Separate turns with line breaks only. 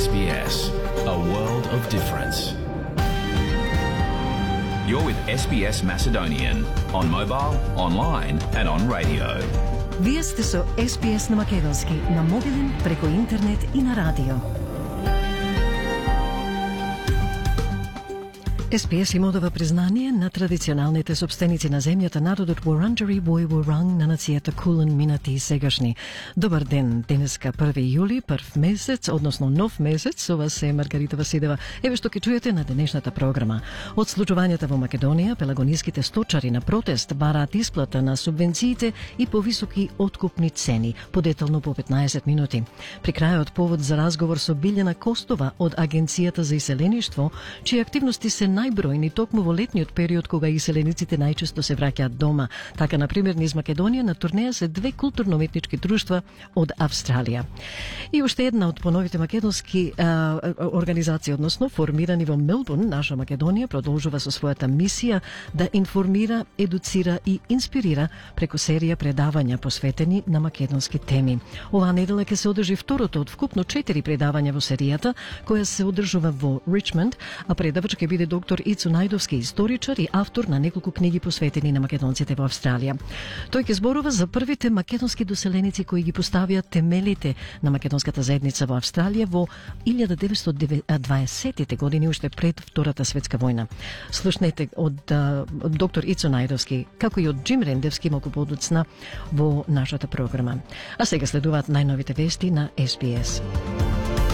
SBS, a world of difference. You're with SBS Macedonian on mobile, online and on radio.
Вие сте со SBS на македонски, на мобилен, преку интернет и на радио. SBS им одава признание на традиционалните собственици на земјата, народот Wurundjeri Woi Wurrung на нацијата Кулин минати и сегашни. Добар ден, денеска 1 јули, прв месец, односно нов месец, ова се Маргарита Васидева. Еве што ќе чуете на денешната програма. Од случувањата во Македонија, пелагониските сточари на протест бараат исплата на субвенциите и повисоки откупни цени, подетално по 15 минути. При крајот повод за разговор со Билјана Костова од Агенцијата за иселеништво, чии активности се најбројни токму во летниот период кога иселениците најчесто се враќаат дома. Така, например, низ Македонија на турнеја се две културно-уметнички друштва од Австралија. И уште една од поновите македонски организации, односно формирани во Мелбурн, наша Македонија продолжува со својата мисија да информира, едуцира и инспирира преку серија предавања посветени на македонски теми. Оваа недела ќе се одржи второто од вкупно 4 предавања во серијата, која се одржува во Ричмонд, а предавач ќе биде доктор Ицо Најдовски, историчар и автор на неколку книги посветени на македонците во Австралија. Тој ќе зборува за првите македонски доселеници кои ги поставија темелите на македонската заедница во Австралија во 1920-тите години, уште пред Втората светска војна. Слушнете од доктор Ицо Најдовски, како и од Джим Рендевски малку подоцна во нашата програма. А сега следуваат најновите вести на SBS.